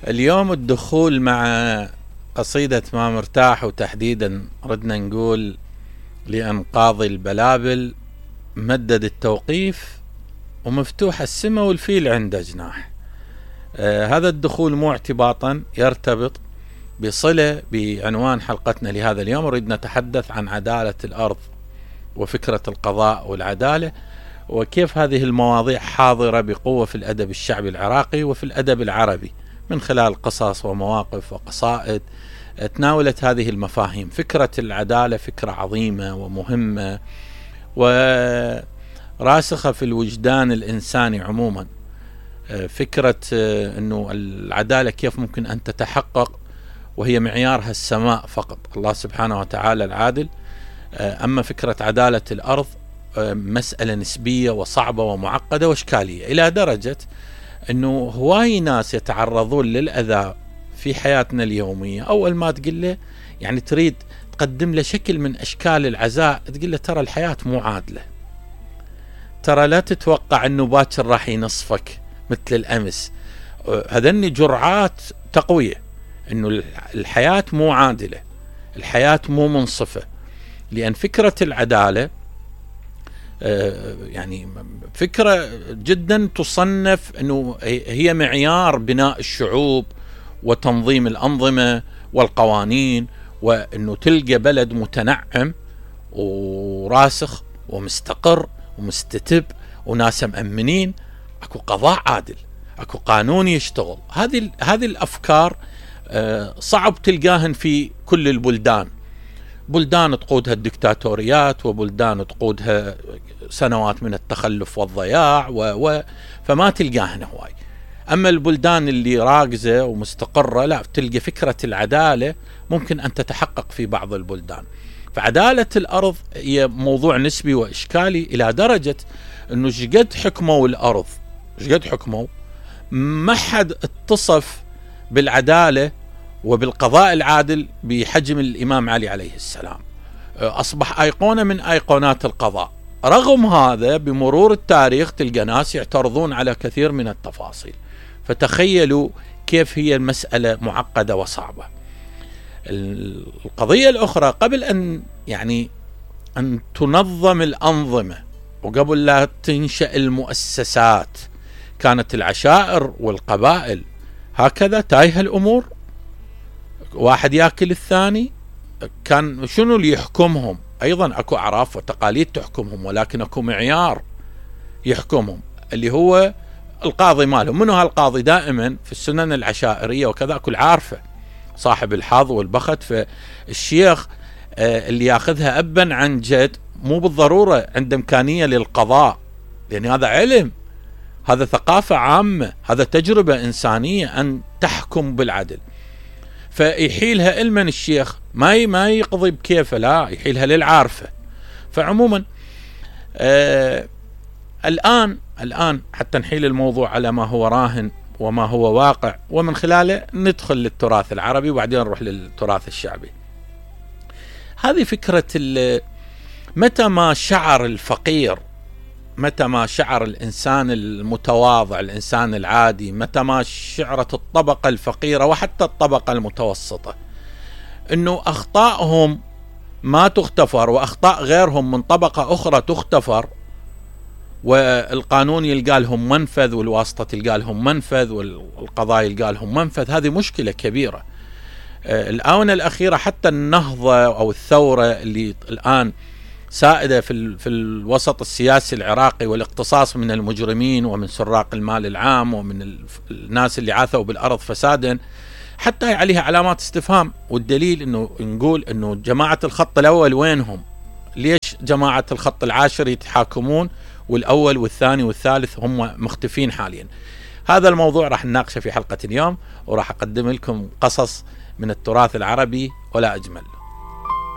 اليوم الدخول مع قصيدة ما مرتاح، وتحديدا ردنا نقول لأنقاض البلابل مدد التوقيف ومفتوح السماء والفيل عنده جناح. هذا الدخول مو اعتباطا، يرتبط بصلة بعنوان حلقتنا لهذا اليوم. نريد نتحدث عن عدالة الأرض وفكرة القضاء والعدالة، وكيف هذه المواضيع حاضرة بقوة في الأدب الشعبي العراقي وفي الأدب العربي من خلال قصص ومواقف وقصائد تناولت هذه المفاهيم. فكرة العدالة فكرة عظيمة ومهمة وراسخة في الوجدان الإنساني عموما. فكرة أنه العدالة كيف ممكن أن تتحقق وهي معيارها السماء فقط، الله سبحانه وتعالى العادل. أما فكرة عدالة الأرض مسألة نسبية وصعبة ومعقدة وإشكالية، إلى درجة أنه هواي ناس يتعرضون للأذى في حياتنا اليومية. أول ما تقول له يعني تريد تقدم له شكل من أشكال العزاء، تقول له ترى الحياة مو عادلة، ترى لا تتوقع أنه باكر راح ينصفك مثل الأمس. هذني جرعات تقوية أنه الحياة مو عادلة، الحياة مو منصفة. لأن فكرة العدالة يعني فكرة جدا تصنف أنه هي معيار بناء الشعوب وتنظيم الأنظمة والقوانين، وأنه تلقى بلد متنعم وراسخ ومستقر ومستتب وناس مأمنين، أكو قضاء عادل، أكو قانون يشتغل. هذه الأفكار صعب تلقاهن في كل البلدان. بلدان تقودها الدكتاتوريات، وبلدان تقودها سنوات من التخلف والضياع فما تلقاهن هواي. أما البلدان اللي راكزة ومستقرة لا، تلقى فكرة العدالة ممكن أن تتحقق في بعض البلدان. فعدالة الأرض هي موضوع نسبي وإشكالي إلى درجة أنه شقد حكموا الأرض، شقد حكموا، ما حد اتصف بالعدالة وبالقضاء العادل بحجم الإمام علي عليه السلام. أصبح أيقونة من أيقونات القضاء. رغم هذا بمرور التاريخ تلقى ناس يعترضون على كثير من التفاصيل. فتخيلوا كيف هي المسألة معقدة وصعبة. القضية الأخرى، قبل أن تنظم الأنظمة وقبل لا تنشأ المؤسسات، كانت العشائر والقبائل هكذا تايهة الأمور، واحد يأكل الثاني. كان شنو اللي يحكمهم؟ أيضا أكو أعراف وتقاليد تحكمهم، ولكن أكو معيار يحكمهم اللي هو القاضي مالهم. منو هالقاضي؟ دائما في السنن العشائرية وكذا أكو العارفة، صاحب الحظ والبخت. فالشيخ اللي ياخذها أبا عن جد مو بالضرورة عنده إمكانية للقضاء، لأن هذا علم، هذا ثقافة عامة، هذا تجربة إنسانية أن تحكم بالعدل. فيحيلها المن الشيخ، ما يقضي بكيفه، لا يحيلها للعارفة. فعموما الآن حتى نحيل الموضوع على ما هو راهن وما هو واقع، ومن خلاله ندخل للتراث العربي وبعدين نروح للتراث الشعبي. هذه فكرة متى ما شعر الفقير، متى ما شعر الإنسان المتواضع، الإنسان العادي، متى ما شعرت الطبقة الفقيرة وحتى الطبقة المتوسطة أنه أخطائهم ما تغتفر وأخطاء غيرهم من طبقة أخرى تغتفر، والقانون يلقى لهم منفذ والواسطة تلقى لهم منفذ والقضاء يلقى لهم منفذ، هذه مشكلة كبيرة. الآونة الأخيرة حتى النهضة أو الثورة اللي الآن سائدة في الوسط السياسي العراقي، والاقتصاص من المجرمين ومن سراق المال العام ومن الناس اللي عاثوا بالأرض فسادا، حتى عليها علامات استفهام. والدليل أنه نقول أنه جماعة الخط الأول وينهم؟ ليش جماعة الخط العاشر يتحاكمون والأول والثاني والثالث هم مختفين حاليا؟ هذا الموضوع راح نناقشه في حلقة اليوم، وراح أقدم لكم قصص من التراث العربي ولا أجمل.